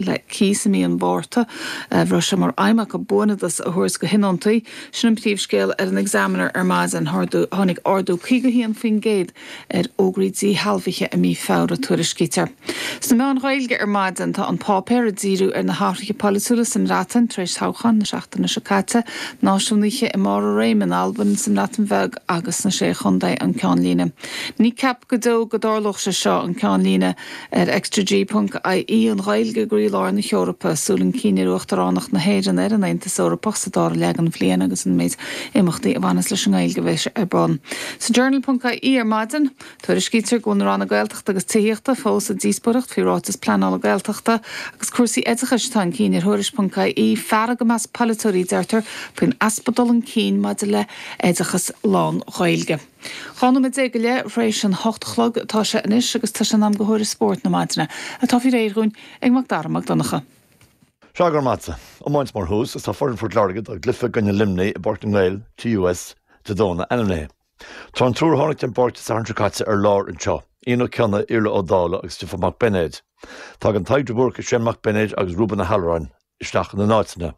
le cíos i mí an Mhárta. Raibh sé mar aidhm acu buanfhadas a thabhairt do thionóntaí. Sin an príomhscéal ar an Examiner ar maidin. Tháinig ardú 51% ar fhógraí díshealbhaithe i mí Feabhra, tuairiscítear. Sna meáin Ghaeilge ar maidin, tá An Páipéar ag díriú ar na hathruithe polaitiúla sa mBreatain tar éis toghcháin na seachtaine seo caite, náisiúnaithe i mbarr a réime in Albain, sa mBreatain Bheag agus sna Sé Chontae, an ceannlíne. Ní ceapadh go deo go dtarlódh sé seo, an ceannlíne ar extraG ponc ie, An Ghaeilge i gcroílár na hEorpa, súil chun cinn ar Uachtaránacht na hÉireann ar an Aontas Eorpach sa dara leath den bhliain agus an méid imeachtaí a bhaineas leis an nGaeilge a bheidh ar bun. Sa Journal ponc ie ar maidin, tuairiscítear go bhfuil na Ranna Gaeltachta agus Tithíochta fós ag díospóireacht faoi ráiteas pleanála Gaeltachta agus cúrsaí oideachais atá chun cinn ar Thuairisc ponc ie, fearg i measc polaiteoirí, deirtear, faoin easpa dul chun cinn maidir le hoideachas lán-Ghaeilge. 12 nóiméad go leith tar éis an hocht a chlog atá sé anois agus tá sé in am do thuairisc spóirt na maidine, atá faoi réir dhúinn ag Mac Dara Mac Donncha. Sea, go raibh maith agat. Iomáint mar thús, agus tá foireann Phort Láirge dá gcluiche i gcoinne Luimnigh i bPáirc na nGael, TUS, Dé Domhnaigh ainmnithe. Tá an triúr a tháinig den bpáirc Dé Sathairn seo caite ar lár anseo, Ian Ó Cionnaith, Iarla Ó Dálaigh agus Stiofán Mac Beinéid. Tagann Tadhg de Búrca, Shane Mac Beinéid agus Reuben Ó hAlluráin isteach ina n-áiteanna.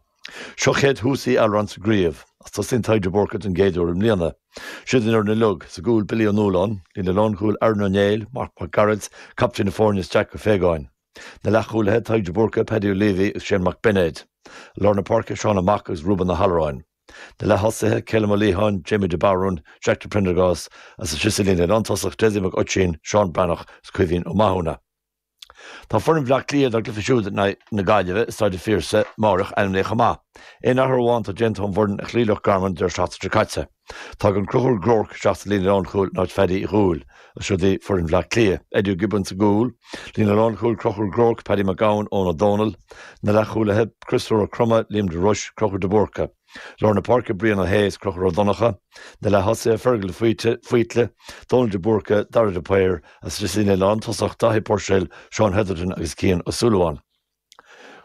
Seo chéad thús Uí Alluráin sa gcraobh, agus tosaíonn Tadhg de Búrca don gcéad uair i mbliana. Siod an fhoireann uilig, sa gcúl Billy Ó Nualláin, líne lánchúil Aaron Ó Néill, Marc Mac Gearailt, captaen na foirne is Jack Ó Faogáin. Na leathchúlaithe, Tadhg de Búrca, Paddy Ó Leavy agus Shane Mac Beinéid. I lár na páirce, Seán Ó Mac agus Reuben Ó hAlluráin. Na leath-thosaithe, Calum Ó Liatháin, Jamie de Barún, Jack de Prendergast agus istigh sa líne lántosach, Dessie Mac Oisín, Seán Breathnach agus Caoimhín Ó Mathúna. Tá foireann Bhaile Átha Cliath dá gcluiche siúd in aghaidh na Gaillimhe i Staid an Phiarsaigh amáireach ainmnithe chomh maith. Aon athrú amháin atá déanta ón bhfoireann a chloígh Loch Garman an deireadh seachtaine seo caite. Tagann Conchúr Groarke isteach sa líne lánchúil in áit Phaddy Uí Dhúill. Agus siod í foireann Bhaile Átha Cliath. Eddie Ó Giobúin sa gcúl. Líne lánchúil, Conchúr Groarke, Paddy Mac Gabhann, Eoin Ó Dónaill. Na leathchúlaithe, Christopher Ó Croma, Liam de Ruis, Conchúr de Búrca. Lár na páirce, Brian Ó hAodha is Conchúr Ó Donnchadha. Na leath-thosaithe, Fergal de Faoite, Dónal de Búrca, Dara de Paor, agus sa líne lántosach, Daithí Puirséil, Seán Hetherton agus Cian Ó Súilleabháin.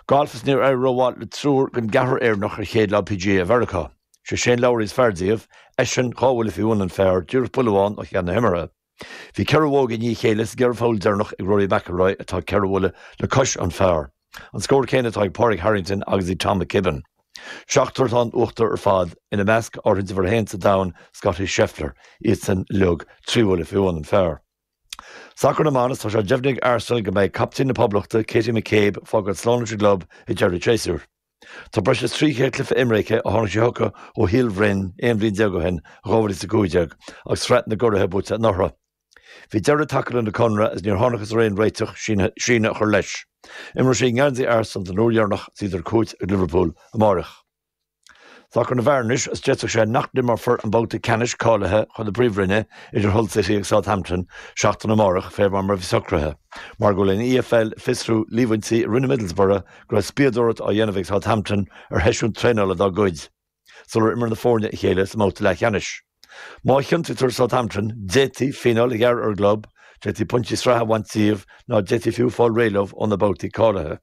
Galf is níor éirigh rómhaith le triúr den gceathrar Éireannach ar chéad lá PGA Mheiriceá. Sé Shane Lowry is fearr díobh, eisean dhá bhuille faoi bhun an phar, díreach buille amháin ó cheann na himeartha. Bhí ceithre bhógaí i ndiaidh a chéile sa gceithre pholl deireanach ag Rory McIlroy atá ceithre bhuille le cois an phar. An scór céanna atá ag Pádraig Harrington agus ag Tom McKibbin. Seachtar atá in uachtar ar fad, ina measc áirithint uimhir a haon sa domhan, Scottie Scheffler, iadsan uilig trí bhuille faoi bhun an phar. Sacar na mban, is tá sé deimhnithe ag Arsenal go mbeidh captaen na Poblachta, Katie McCabe, ag fágáil slán leis an gclub ag deireadh an tséasúir. Tá breis is 300 cluiche imeartha aici ó tháinig sí chucu ó Shíol Bhroin 11 bhliain ó shin, in 2015, agus Sraith na gCuraithe buaite anuraidh. Bhí deireadh tagtha lena conradh agus níor thángthas ar aon réiteach síneadh a chur leis. Imreoidh sí i ngeansaí Arsenal don uair dheireanach is iad ar cuairt ag Liverpool amáireach. Sacar na bhfear anois is d'fhéadfadh sé nach n-imreofar an babhta ceannais cáilithe chun na Príomhroinne idir Hull City agus Southampton seachtain amárach fé mar a bhí socraithe, mar go bhfuil an EFL ag fiosrú líomhaintí a rinne Middlesbrough go raibh spiadóireacht á dhéanamh ag Southampton ar sheisiún traenála dá gcuid sular imir na foirne a chéile sa mbabhta leathcheannais. Má chiontaítear Southampton, d'fhéadfaí fíneáil a ghearradh ar an gclub, d'fhéadfaí pointí sraithe a bhaint díobh ná d'fhéadfaí fiú fáil réidh leo ó na babhtaí cáilithe.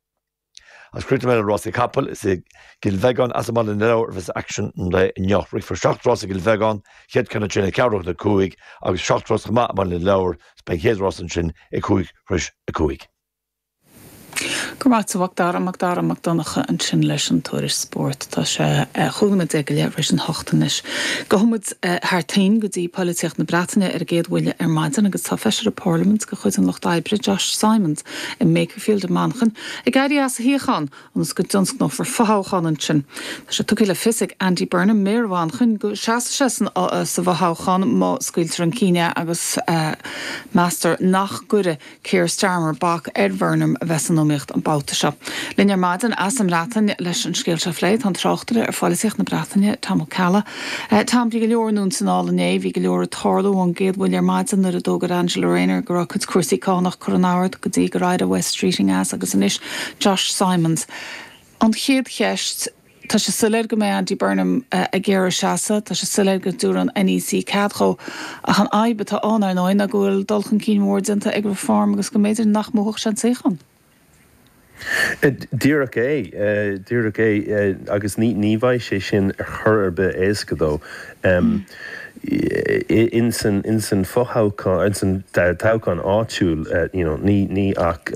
Agus críochnóidh mé le rásaí capall, is i gCill Bheagáin as i mBaile na Lobhar a bheas aicsean an lae inniu. Rithfear seacht rás i gCill Bheagáin, chéad ceann ansin ag ceathrú chun a 5 agus seacht rás chomh maith i mBaile na Lobhar is beidh an chéad rás ansin ag 5 tar éis a 5. Go raibh maith agat a Mhac Dara, Mac Dara Mac Donncha ansin leis an tuairisc spóirt. Tá sé 15 nóiméad go leith tar éis an hocht anois. Gabhfaidh muid thar toinn go dtí poilitíocht na Breataine ar an gcéad bhuille ar maidin agus tá Feisire Parlaiminte de chuid an Lucht Oibre, Josh Simons, i mBakerfield i Manchain, ag éirí as a shuíochán ionas go dtionscnófar fothoghchán ansin. Tá sé tugtha le fios ag Andy Burnham, Méara Mhanchain, go seasfaidh sé sa bhfothoghchán má scaoiltear chun cinn é agus meastar nach gcuirfidh Keir Starmer bac ar Bhurnham a bheith san iomaíocht an babhta seo. Linn ar maidin as an mBreatain leis an scéal seo a phlé tá an tráchtaire ar pholaitíocht na Breataine, Tom Ó Ceallaigh. Tom, bhí go leor anonn is anall inné, bhí go leor ag tarlú ón gcéad bhuille ar maidin nuair a d'fhógair Angela Rayner go raibh a cuid cúrsaí cánach curtha in ord go dtí gur éirigh Wes Streeting as agus anois Josh Simons. An chéad cheist, tá sé soiléir go mbeidh Andy Burnham ag iarraidh seasamh, tá sé soiléir go dtabharfaidh an NEC cead dhó, ach an fhadhb atá ann, ar ndóigh, ná go bhfuil dul chun cinn mór déanta ag Reform agus go mb'fhéidir nach mbuafadh sé an suíochán. Díreach é, díreach é, agus ní bheidh sé sin ar chor ar bith éasca dó. In san in san fothoghchán in san toghchán áitiúil you know ní ní ach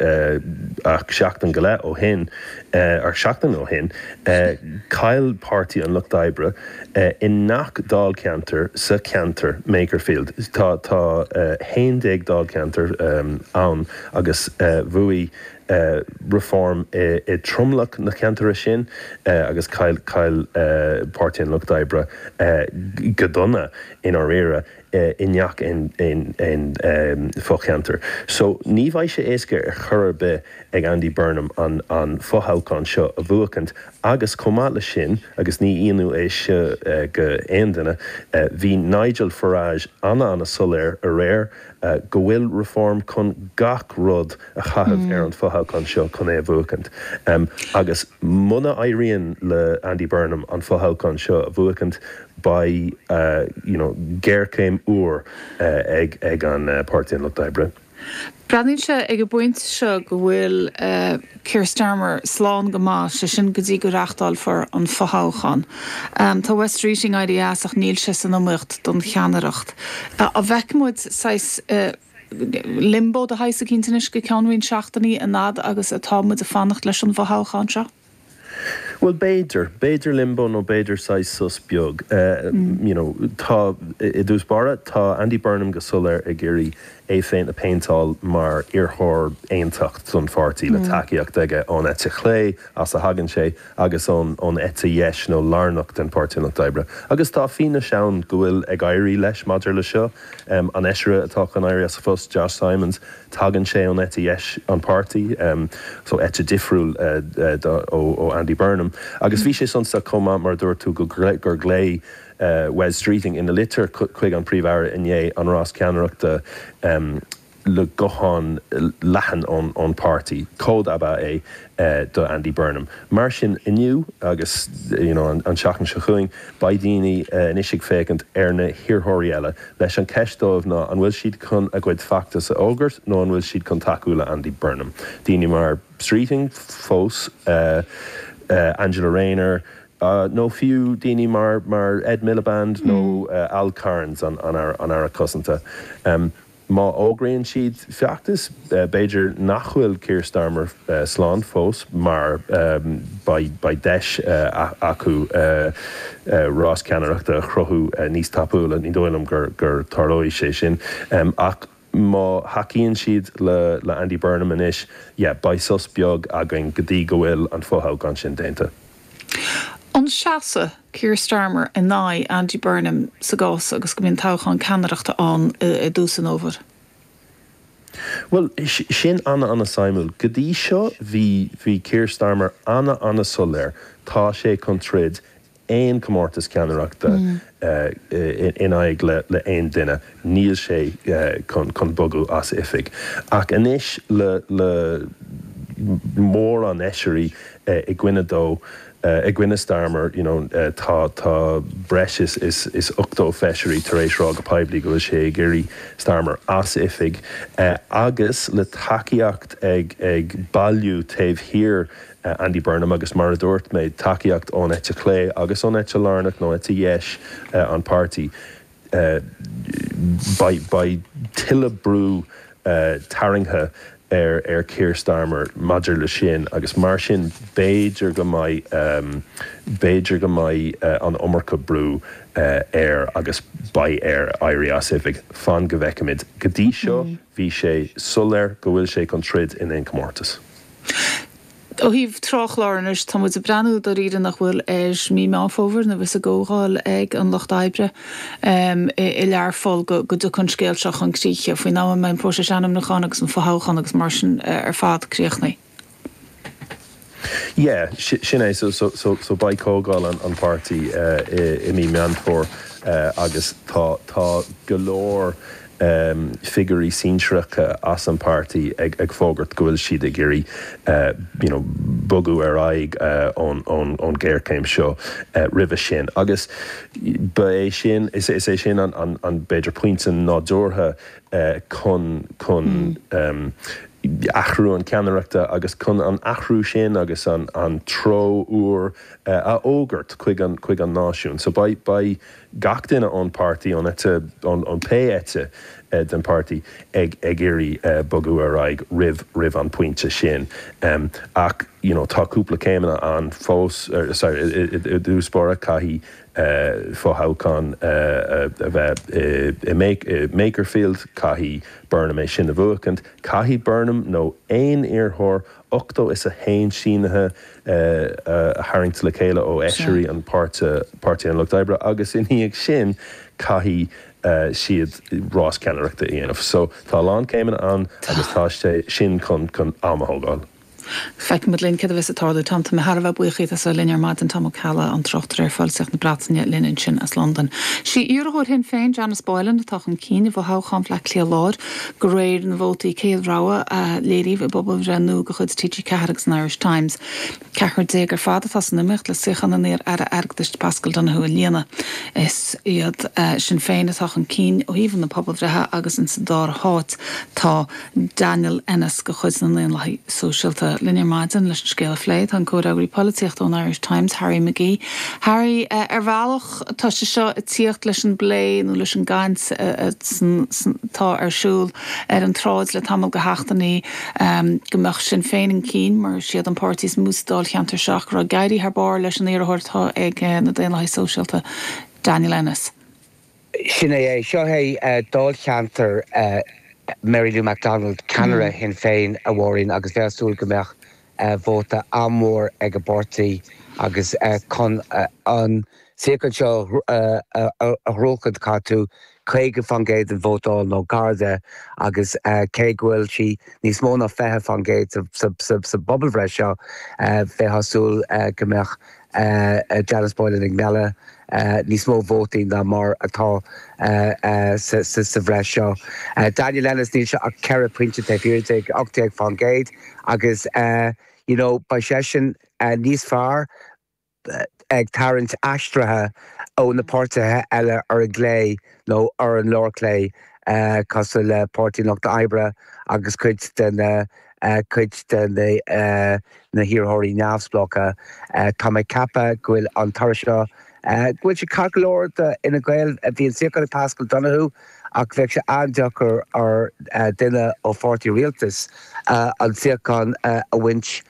ach seachtain go leith ó shin or seachtain ó shin chaill Páirtí an Lucht Oibre i ngach dáilcheantar sa cheantar Makerfield. Tá tá 11 dáilcheantar ann agus bhuaigh Reform i dtromlach na ceantair sin agus chaill chaill Páirtí an Lucht Oibre go dona i ndáiríre i ngach aon fho-cheantar. So ní bheidh sé éasca ar chor ar bith ag Andy Burnham an an fothoghchán seo a bhuachaint agus chomh maith le sin, agus ní ionadh é seo go aon duine, bhí Nigel Farage ana-ana-soiléir aréir go bhfuil Reform chun gach rud a chaitheamh ar an fothoghchán seo chun é a bhuachaint. Agus muna éiríonn le Andy Burnham an fothoghchán seo a bhuachaint, beidh you know géarchéim úr ag ag an Páirtí an Lucht Oibre. Breathnaíonn sé ag an bpointe seo go bhfuil Keir Starmer slán go maith, sé sin go dtí go reáchtálfar an fothoghchán. Tá Wes Streeting éirithe as ach níl sé san iomaíocht don cheannaireacht. An bhfeicfidh muid saghas limbo de shaghas eicínt anois go ceann roinnt seachtainí an fhad agus atá muid ag fanacht leis an bhfothoghchán seo? Bhuel, b'fhéidir. B'fhéidir limbo nó b'fhéidir saghas sos beag. You know, tá, i dtús báire, tá Andy Burnham go soiléir ag iarraidh é féin a phéinteáil mar iarrthóir aontacht don pháirtí, le tacaíocht aige ón eite chlé, as a thagann sé, agus ón ón eite dheis nó lárnach den Pháirtí an Lucht Oibre. Agus tá fianaise ann go bhfuil ag éirí leis maidir le seo. An feisire atá chun éirí as a phost, Josh Simons, Tagann sé ón eite dheis an páirtí, so eite difriúil ó Andy Burnham. Agus bhí sé suntasach chomh maith, mar a dúirt tú, gur ghlaoigh Wes Streeting ina litir chuig an Príomh-Aire inné an rás ceannaireachta le guthán leathan ón páirtí. Cód ab ea é do Andy Burnham. Mar sin, inniu agus you know an tseachtain seo chugainn, beidh daoine anois ag féachaint ar na hiarrthóirí eile leis an cheist dóibh ná an bhfuil siad chun a gcuid feachtas a fhógairt nó an bhfuil siad chun tacú le Andy Burnham. Daoine mar Streeting fós, Angela Rayner nó fiú daoine mar Ed Miliband nó Al Carns, an Aire Cosanta. Má fhógraíonn siad feachtas, b'fhéidir nach bhfuil Keir Starmer slán fós mar beidh deis acu rás ceannaireachta a chruthú níos tapúla. Ní dóigh liom gur tarlóidh sé sin. Ach má thacaíonn siad le Andy Burnham anois, yeah, beidh sos beag againn go dtí go bhfuil an fothoghchán sin déanta. An seasfaidh Keir Starmer in aghaidh Andy Burnham sa gcás agus go mbíonn toghchán ceannaireachta ann i dtús an fhómhair? Bhuel, sin ana-ana-suimiúil. Go dtí seo bhí, bhí Keir Starmer ana-ana-soiléir, tá sé chun troid aon comórtas ceannaireachta in aghaidh le aon duine, níl sé chun bogadh as oifig. Ach anois le le mórán fheisirí i gcoinne dó, i gcoinne Starmer, you know, tá tá breis is is is 80 feisirí tar éis rá go poiblí go bhfuil sé ag iarraidh Starmer as oifig agus le tacaíocht ag ag bailiú taobh thiar Andy Burnham agus mar a dúirt mé, tacaíocht ón eite chlé agus ón eite lárnach nó eite dheis an páirtí. Beidh beidh tuilleadh brú tarraingthe ar ar Keir Starmer maidir le sin agus mar sin b'fhéidir go mbeidh b'fhéidir go mbeidh an iomarca brú air agus beidh air éirí as oifig. Fan go bhfeicfimid. Go dtí seo bhí sé soiléir go bhfuil sé chun troid in aon chomórtas. Ó thaobh tráthchlár anois, tá muid ag breathnú dáiríre nach bhfuil ar mí Meán Fómhair nuair a bheas an gcomhdháil ag an Lucht Oibre i Learpholl go dtiocfaidh an scéal seo chun críche, faoin am a mbeidh an próiseas ainmniúcháin agus an fothoghchán agus mar sin ar fad críochnaithe. Yeah, sin é. So, so, so beidh comhdháil an pháirtí i mí Meán Fómhair agus tá, tá go leor figiúirí sinsearacha as an páirtí ag fógairt go bhfuil siad ag iarraidh you know bogadh ar aghaidh ón ón ghéarchéim seo roimhe sin. Agus ba é sin, is é sin an an b'fhéidir pointe nádúrtha chun chun. athrú an ceannaireachta agus chun an athrú sin agus an an treo úr a fhógairt chuig an chuig an náisiún. So beidh beidh gach duine ón páirtí, ón eite, ón pé eite den páirtí ag ag iarraidh bogadh ar aghaidh roimh roimh an pointe sin. Ach you know tá cúpla céimeanna ann fós, sorry, i dtús báire caithfidh fothoghchán a bheith i Makerfield, caithfidh Burnham é sin a bhuachaint, caithfidh Burnham nó aon iarrthóir 81 sínithe a tharraingt le chéile ó fheisirí an páirtí, Páirtí an Lucht Oibre, agus ina dhiaidh sin caithfidh siad rás ceannaireachta a dhéanamh. So tá a lán céimeanna ann agus tá sé sin chun am a thógáil. Feicfimid linn céard a bheas ag tarlú. Tom, tá mé thar a bheith buíoch díot as a bheith linn ar maidin. Tom Ó Ceallaigh, an tráchtaire ar pholaitíocht na Breataine linn ansin as Londain. Sí iarrthóir Shinn Féin, Janice Boylan, atá chun cinn i bhfothoghchán Bhaile Átha Cliath Láir, de réir na vótaí céad rogha a léiríodh i bpobalbhreith nua de chuid TG4 agus an Irish Times. Ceathrar déag ar fad atá san iomaíocht le suíochán an iar-aire airgeadais Paschal Donohoe a líonadh. Is iad Sinn Féin atá chun cinn ó thaobh na pobalbhreithe agus insa dara háit tá Daniel Ennis de chuid na nDaonlathaithe Sóisialta. Linn ar maidin leis an scéal a phlé tá an comhfhreagraí polaitíochta ón Irish Times, Harry McGee. Harry, ar bhealach tá sé seo ag tíocht leis an bplé nó leis an gcaint atá ar siúl ar an tsráid le tamall de sheachtainí go mbeadh Sinn Féin chun cinn mar is iad an páirtí is mó sa dáilcheantar seo ach go raibh ag éirí thar barr leis an iarrthóir atá ag na Daonlathaithe Sóisialta, Daniel Ennis. Sin é é. Seo é dáilcheantar Mary Lou McDonald, ceannaire Shinn Féin, a Mháirín, agus bheifeá ag súil go mbeadh vóta an-mhór ag an bpáirtí agus chun an suíochán seo a ghnóthachtáil caithfidh tú 50% den vóta a fháil nó gar de agus cé go bhfuil sí níos mó ná 20% sa bpobalbhreith seo, bheifeá ag súil go mbeadh Janice Boylan ag mealladh níos mó vótaí ná mar atá sa bhreith seo. Daniel Ennis, níl sé ach ceithre phointe taobh thiar di, 18%, agus you know beidh seisean níos fearr ag tarraingt aistrithe ó na páirtithe eile ar an gclé nó ar an lár-chlé cosúil le Páirtí an Lucht Oibre agus cuid de na cuid de na hiarrthóirí neamhspleácha. Tá mé ag ceapadh go bhfuil an toradh seo, go bhfuil sé ceart go leor do Fhine Gael. Bhí an suíochán ag Paschal Donohoe ach bheadh sé an-deacair ar dhuine ó pháirtí rialtais an suíochán a bhaint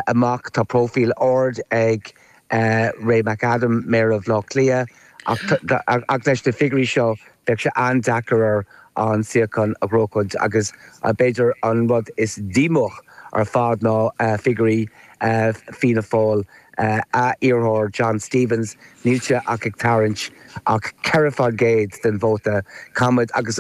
amach. Tá próifíl ard ag Ray McAdam, Méara Bhaile Átha Cliath, ach leis na figiúirí seo bheadh sé an-deacair air an suíochán a ghnóchaint agus b'fhéidir an rud is díomách ar fad ná figiúirí Fianna Fáil, a iarrthóir John Stephens, níl sé ach ag tarraingt ach 4% den vóta. Caithfimid, agus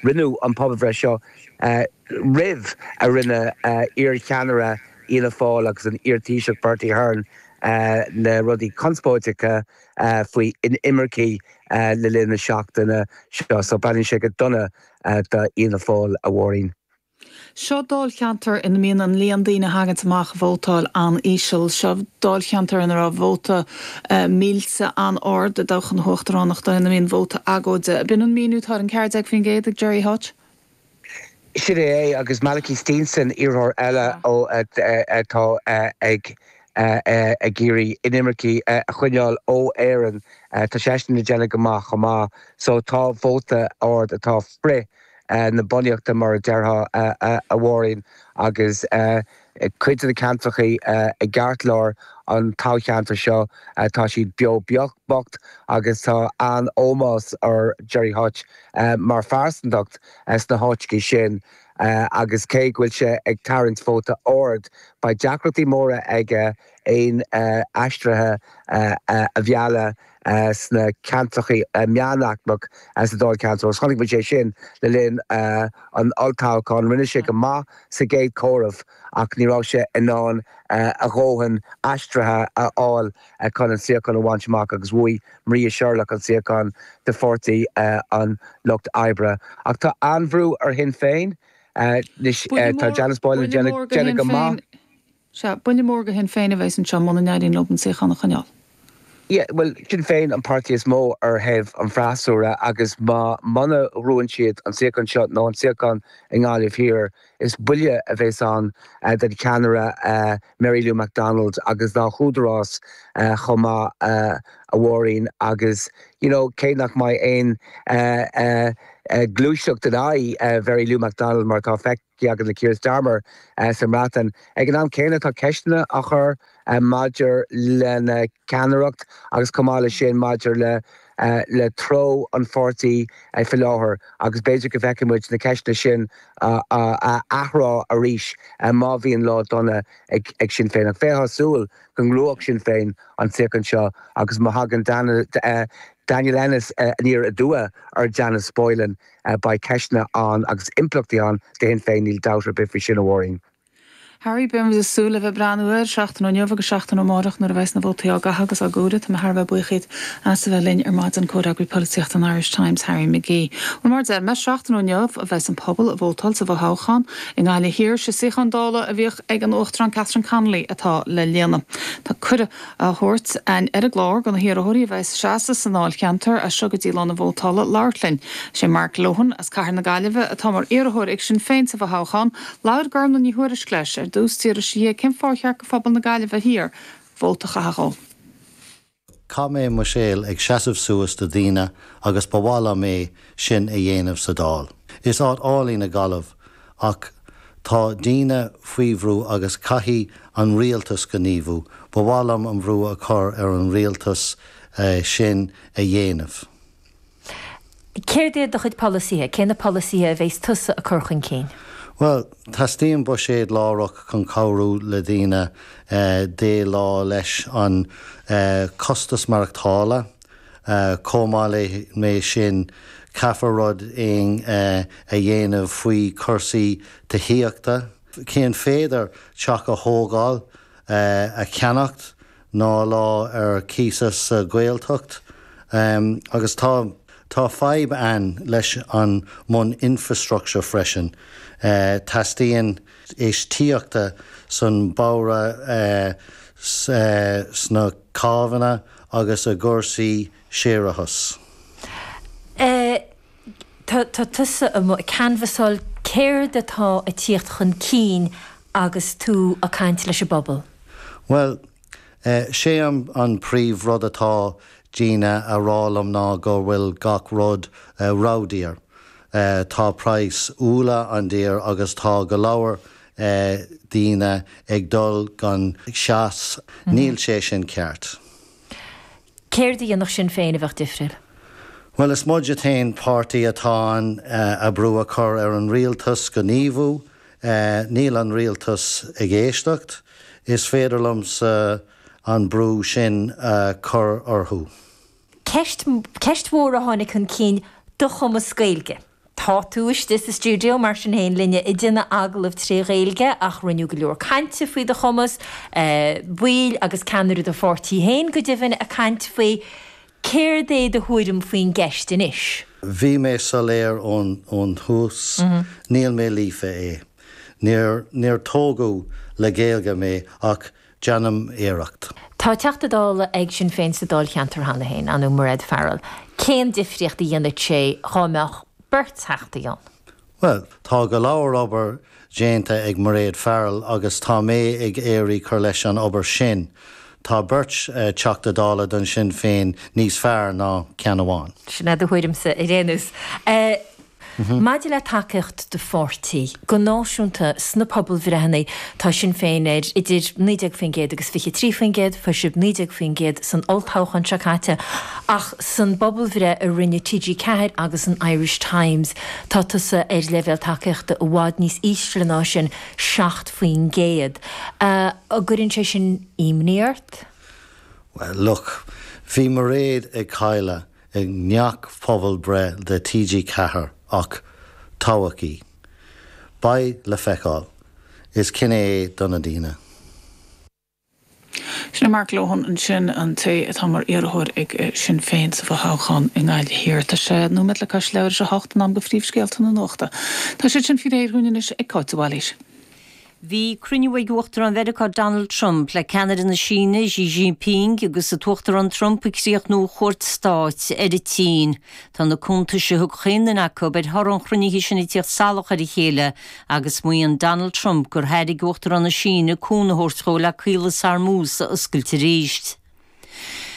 rinneadh an pobalbhreith seo roimh a rinne iar-cheannaire Fhianna Fáil agus an iar-Taoiseach Bertie Ahern na rudaí conspóideacha faoi inimircigh le linn na seachtaine seo. So breathnaíonn sé go dona do Fhianna Fáil, a Mháirín. Seo dáilcheantar ina mbíonn an líon daoine a thaganns amach a vótáil an-íseal. Seo dáilcheantar ina raibh vóta millte an-ard i dtoghchán na huachtaránachta, ina mbíonn vóta agóide. B'in an míniú atá ar an 14% ag Gerry Hutch. Sin é é, agus Malachy Steenson, iarrthóir eile ó atá ag ag iarraidh inimircigh a choinneáil ó Éirinn, tá seisean ag déanamh go maith chomh maith. So tá vóta ard atá frith na bunaíochta mar a déarfá, a Mháirín, agus cuid de na ceantracha i gceartlár an toghcheantair seo, tá siad beo bocht agus tá an-ómós ar Gerry Hutch mar phearsantacht sna háiteacha sin agus cé go bhfuil sé ag tarraingt vóta ard, beidh deacrachtaí móra aige aon aistrithe a mhealladh sna ceantracha meánaicmeach sa dáilcheantar. Agus chonaic muid é sin le linn an olltoghcháin. Rinne sé go maith sa gcéad chomhaireamh ach ní raibh sé in ann a dhóthain aistrithe a fháil chun an suíochán a bhaint amach agus bhuaigh Maria Sherlock an suíochán do Pháirtí an Lucht Oibre. Ach tá an-bhrú ar Shinn Féin anois. Tá Janice Boylan ag déanamh go maith. Sea, buille mór do Shinn Féin a bheas anseo muna n-éiríonn leo an suíochán a choinneáil. Yeah, bhuel, Sinn Féin an páirtí is mó ar thaobh an fhreasúra agus má muna ghnóthaíonn siad an suíochán seo nó an suíochán i nGaillimh Thiar, Is buille a bheas ann don cheannaire Mary Lou McDonald agus dá húdarás chomh maith, a Mháirín, agus you know cé nach mbeidh aon gluaiseacht in aghaidh Mhary Lou McDonald mar atá feicthe againn le Keir Starmer sa mBreatain, ag an am céanna tá ceisteanna á chur maidir lena ceannaireacht agus chomh maith leis sin maidir le le treo an pháirtí faoi láthair agus b'fhéidir go bhfeicfidh muid na ceisteanna sin á athrá arís má bhíonn lá dona ag Sinn Féin. Ach bheifeá ag súil go ngnóthódh Sinn Féin an suíochán seo agus má thagann Daniel Ennis aniar aduaidh ar Janice Boylan beidh ceisteanna ann agus impleachtaí ann do Shinn Féin, níl dabht ar bith faoi sin, a Mháirín. Harry, Beidh muid ag súil le bheith ag breathnú air seachtain ó inniu agus seachtain ó amárach nuair a bheas na vótaí á gcaitheamh agus á gcomhaireamh. Tá mé thar a bheith buíoch díot as a bheith linn ar maidin, Comhfhreagraí Polaitíochta an Irish Times, Harry McGee. Bhuel, mar a deir mé, seachtain ó inniu a bheas an pobal ag vótáil sa bhfothoghchán i nGaillimh Thiar. Sé suíochán Dála a bhíodh ag an Uachtarán Catherine Connolly atá le líonadh. Tá cuireadh á thabhairt againn ar an gclár do na hiarrthóirí a bheas ag seasamh sa ndáilcheantar as seo go dtí lá na vótála labhairt linn. Sé Mark Lohan as Cathair na Gaillimhe atá mar iarrthóir ag Sinn Féin sa bhfothoghchán. Labhair Gormlaith Ní Thuairisg leis ar dtús d'fhiafraigh sí dhe cén fáth ar cheart do phobal na Gaillimhe Thiar vóta a chaitheamh dhó. Chaith mé mo shaol ag seasamh suas do daoine agus ba mhaith liom é sin a dhéanamh sa Dáil. Is áit álainn í Gaillimh ach tá daoine faoi bhrú agus caithfidh an rialtas gníomhú. Ba mhaith liom an bhrú a chur ar an rialtas sin a dhéanamh. Céard iad do chuid polasaithe? Cé na polasaithe a bheas tusa ag cur chun cinn? Bhuel, teastaíonn buiséad láithreach chun cabhrú le daoine déileáil leis an costas maireachtála. Chomh maith le sin, caithfear rud éigin a dhéanamh faoi chúrsaí tithíochta. Cén féidir teach a thógáil, a cheannacht ná lá ar cíos sa Ghaeltacht agus tá tá fadhb ann leis an mbun infrastructure freisin. Teastaíonn infheistíochta san bóithre sna cábhanna agus i gcúrsaí séarachais. Tá tusa amuigh ag canbhasáil, céard atá ag tíocht chun cinn agus tú ag caint leis an bpobal? Bhuel, sé an príomh rud atá daoine a rá liom ná go bhfuil gach rud ródhaor. Tá praghas úlla an-daor agus tá go leor daoine ag dul gan teas. Níl sé sin ceart. Céard a dhéanfadh Sinn Féin a bheadh difriúil? Bhuel, is muid an t-aon páirtí atá in ann brú a chur ar an rialtas gníomhú. Níl an rialtas ag éisteacht. Is féidir liomsa an brú sin a chur orthu. Ceist, ceist mhór a tháinig chun cinn, do chumas Gaeilge. Tá tú istigh sa stiúideo mar sin féin linne ag déanamh agallamh tré Ghaeilge ach rinneadh go leor cainte faoi do chumas, baill agus ceannaire do pháirtí féin go deimhin ag caint faoi. Céard é do thuairim faoin gceist anois? Bhí mé soiléir ón tús, níl mé líofa é. Níor, níor tógadh le Gaeilge mé ach Déanaim iarracht. Tá Teachta Dála ag Sinn Féin sa Dáilcheantar cheana féin, an ea Mairéad Farrell. Cén difríocht a dhéanfadh sé dhá mbeadh beirt Theachtaí ann? Bhuel, tá go leor obair déanta ag Mairéad Farrell agus tá mé ag iarraidh cur leis an obair sin. Tá beirt Teachta Dála don Sinn Féin níos fearr ná ceann amháin. Sin é do thuairimse ar aon nós. Maidir le tacaíocht do pháirtí, go náisiúnta sna pobalbhreitheanna, tá Sinn Féin ar idir 19% agus 23%, fuair sibh 19% san olltoghchán seo caite, ach san bpobalbhreith a rinne TG4 agus an Irish Times, tá tusa ar leibhéal tacaíochta i bhfad níos ísle ná sin, 7%. An gcuireann sé sin imní ort? Well, look, bhí Mairéad ag cailleadh i ngach pobalbhreith do TG4 ach toghadh í. Beidh le feiceáil. Is cinneadh é do na daoine. Sin é Mark Lohan ansin, an té atá mar iarrthóir ag Sinn Féin sa bhfothoghchán i nGaillimh Thiar. Tá sé nóiméad le cois leathuair tar éis a hocht, in am do phríomhscéalta na nuachta. Tá siad sin faoi réir dhúinn anois ag Cáit de Bhailís. Bhí cruinniú ag Uachtarán Mheiriceá Donald Trump le ceannaire na Síne Xi Jinping agus an tUachtarán Trump ag críochnú a chuairt stáit ar an tSín. Tá na cuntais a thug chaon duine acu ar thoradh an chruinnithe sin ag tíocht salach ar a chéile agus maíonn Donald Trump gur thairg Uachtarán na Síne cúnamh a thabhairt dhó le Caolas Hormuz a oscailt arís.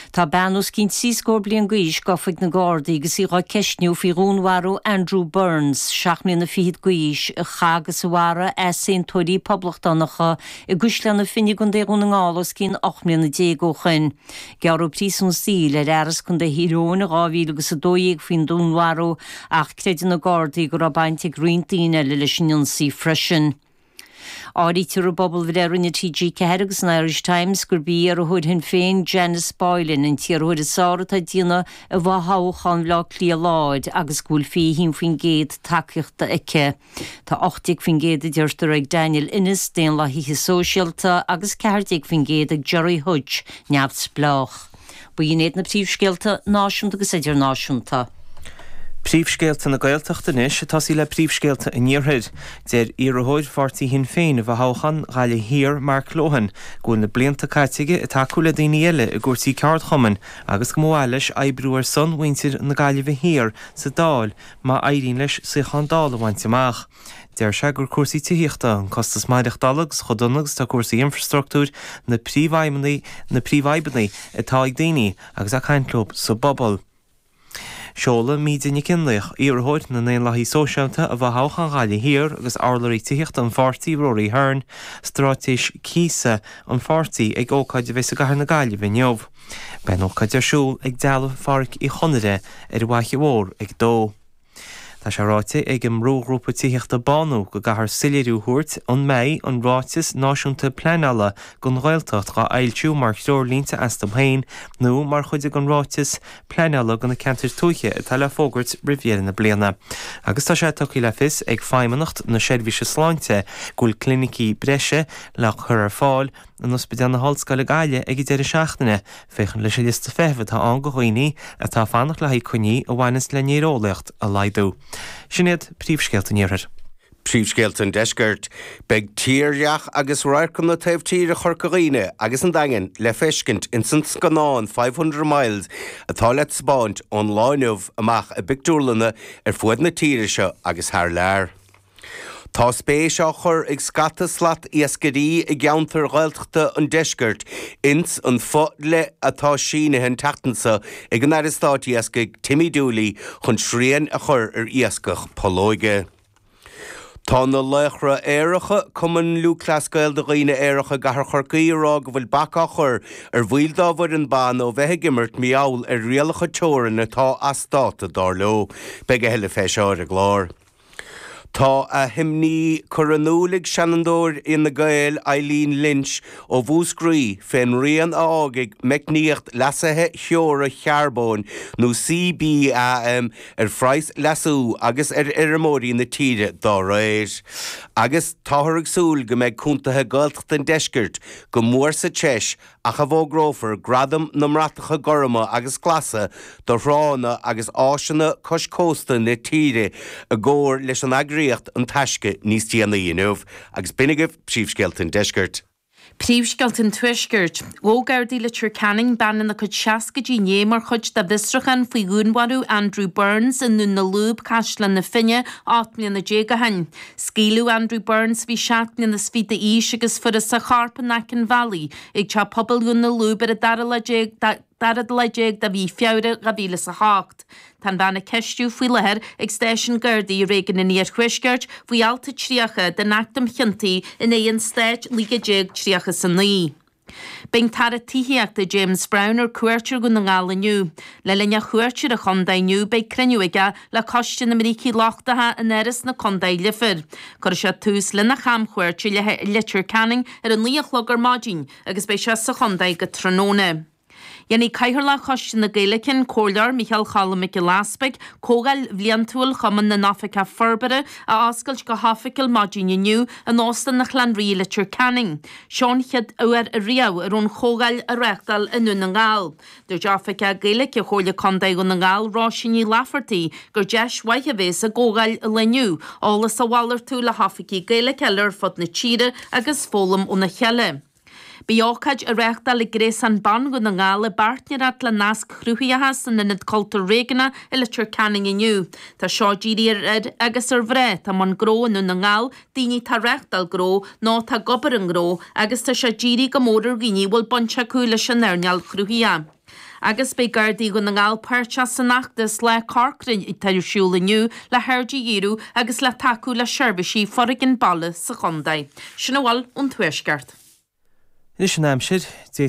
Tá bean os cionn trí scór bliain d'aois gafa ag na Gardaí agus í dhá ceistniú faoi dhúnmharú Andrew Burns, seacht mbliana fichead d'aois, a chaith agus a mharaigh easaontóirí poblachtánacha i gCaisleán na Finne i gContae Dhún na nGall os cionn 18 mbliana ó shoin. Gearradh príosún saoil ar fhear as Contae Thír Eoghain in 2012 faoin dúnmharú ach creideann na Gardaí go raibh baint ag roinnt daoine eile leis an ionsaí freisin. Áirítear i bpobalbhreith a rinne TG4 agus an Irish Times gurb í iarrthóir Shinn Féin Janice Boylan an t-iarrthóir is fearr atá ag déanamh i bhfothoghchán Bhaile Átha Cliath Láir agus go bhfuil 21% tacaíochta aici. Tá 18% a deirtear ag Daniel Ennis, Daonlathaithe Sóisialta, agus 14% ag Gerry Hutch, Neamhspleách. B'in iad na príomhscéalta náisiúnta agus idirnáisiúnta. Príomhscéalta na Gaeltachta anois, ag tosaí le príomhscéalta an Iarthair. Deir iarrthóir pháirtí Shinn Féin i bhfothoghchán Ghaillimh Thiar, Mark Lohan, go bhfuil na blianta caite aige ag tacú le daoine eile i gcúrsaí ceardchumainn agus go mba mhaith leis oibriú ar son mhuintir na Gaillimhe Thiar sa Dáil má éiríonn leis suíochán Dála a bhaint amach. Deir sé gur cúrsaí tithíochta, an costas maireachtála agus chomh dona agus atá cúrsaí infrastruchtúir na príomhfhadhbanna na príomhfhadhbanna atá ag daoine agus é ag caint leo sa bpobal. Seolfaidh Míde Nic Fhionnlaoich, iarrthóir na nDaonlathaithe Sóisialta i bhfothoghchán Ghaillimh Thiar agus urlabhraí tithíochta an pháirtí, Rory Hearne, straitéis cíosa an pháirtí ag ócáid a bheidh i gcathair na Gaillimhe inniu. Beidh an ócáid ar siúl ag Dealbh Phádraic Uí Chonaire ar an bhFaiche Mhór ag a dó. Tá sé ráite ag an mbrúghrúpa tithíochta Bánú go gcaithfear soiléiriú a thabhairt an mbeidh an Ráiteas Náisiúnta Pleanála don Ghaeltacht dhá fhoilsiú mar threoirlínte astu féin nó mar chuid den ráiteas pleanála do na ceantair tuaithe atá le fógairt roimh dheireadh na bliana. Agus tá sé tugtha le fios ag Feidhmeannacht na Seirbhíse Sláinte go bhfuil clinicí breise le cur ar fáil in Ospidéal na hOllscoile Gaillimh ag an deireadh seachtaine, féachaint leis an liosta feithimh atá ann do dhaoine atá ag fanacht le haghaidh coinní a bhaineanns le néareolaíocht a laghdú. Sin iad príomhscéalta an Iarthair. Príomhscéalta an Deiscirt. Beidh tírdhreach agus radharcanna taobh tíre Chorca Dhuibhne agus an Daingin le feiscint ins an scannán 500 Miles atá le taispeáint ón lá inniu amach i bpictiúrlanna ar fuaid na tíre seo agus thar lear. Tá spéis á chur ag scata slat iascairí i gceantair Ghaeltachta an deiscirt ins an fo-dhlí atá sínithe an tseachtain seo ag an Aire Stáit Iascaigh Timmy Dooley chun srian a chur ar iascach pollóige. Tá na Laochra Aeracha, Cumann Lúthchleas Gael do dhaoine aeracha i gcathair Chorcaí ag rá go bhfuil bac á chur ar bhaill dá bhfoireann ban ó bheith ag imirt mar gheall ar rialacha teorann atá as dáta dar leo. Beidh a thuilleadh fé seo ar an gclár. Tá a himní curtha in iúl ag Seanadóir Fhine Gael, Eileen Lynch ó Mhúscraí, fén rian a fhágfaidh meicníocht leasaithe theora charbóin, nó CBAM, ar phraghas leasú agus ar fheirmeoirí na tíre dá réir. Agus táthar ag súil go mbeidh contaetha Gaeltachta an deiscirt go mór sa treis ach a bhfógrófar Gradaim na mBratacha Gorma agus Glasa do thránna agus áiseanna cois cósta na tíre i gcomhar leis an eagraíocht An Taisce níos déanaí inniu. Agus b'in agaibh Príomhscéalta an Deiscirt. Príomhscéalta an Tuaiscirt. Ghabh Gardaí Leitir Ceanainn bean ina cuid seascaidí inné mar chuid de bhfiosrúchán faoi dhúnmharú Andrew Burns i nDún na Lúb, Caisleán na Finne, 18 mbliana ó shin. Scaoileadh Andrew Burns, a bhí 7 mbliana is fiche d'aois, agus fuarthas a chorp in aice an bhealaigh ag teach pobail Dhún na Lúb ar an dara lá déag dara lá déag de mhí Feabhra 2008. Tá an bhean á ceistiú faoi láthair ag stáisiún Gardaí i réigiún an Iarthuaiscirt faoi alt 30 den Acht um Chiontaí in aghaidh an Stáit 1939. Beidh an tAire Tithíochta James Browne ar cuairt ar Dhún na nGall inniu. Le linn a chuairt ar an chontae inniu beidh cruinniú aige le Coiste na mBrící Lochtacha in Áras na Contae Leifear. Cuirfidh sé tús lena chamchuairt i Leitir Ceanainn ar a 9 a chlog ar maidin agus beidh sé sa chontae go tráthnóna. Dhéanfaidh Cathaoirleach Choiste na Gaeilge, an Comhairleoir Micheál Cholm Mac Giolla Easpaig, Comhdháil bhliantúil Chumann na nOifigeach Forbartha a oscailt go hoifigiúil maidin inniu in Óstán an Chlann Rí i Leitir Ceanainn. Seo an chéad uair ariamh a raibh an chomhdháil á reáchtáil i nDún na nGall. Dúirt Oifigeach Gaeilge Chomhairle Contae Dhún na nGall, Róisín Ní Laifeartaigh, gur deis mhaith a bhéas i gcomhdháil an lae inniu, eolas a mhalartú le hoifigigh Gaeilge eile ar fud na tíre agus foghlaim óna chéile. Beidh ócáid á reáchtáil ag Gréasán Ban Dhún na nGall i bpáirtnéireacht le Nasc Chruthaitheacha san Ionad Cultúir Réigiúnach i Leitir Ceanainn inniu. Tá seo dírithe ar fhir agus ar mhná atá i mbun gnó i nDún na nGall, daoine atá ag reáchtáil gnó nó atá ag obair i ngnó agus tá sé dírithe go mór ar dhaoine a bhfuil baint acu leis an earnáil chruthaitheach. Agus beidh Gardaí Dhún na nGall páirteach san fheachtas Lá Corcra atá ar siúl inniu le haird a dhíriú agus le tacú le seirbhísí foréigin baile sa chontae. Sin a bhfuil ón Tuaisceart. Anois an aimsir.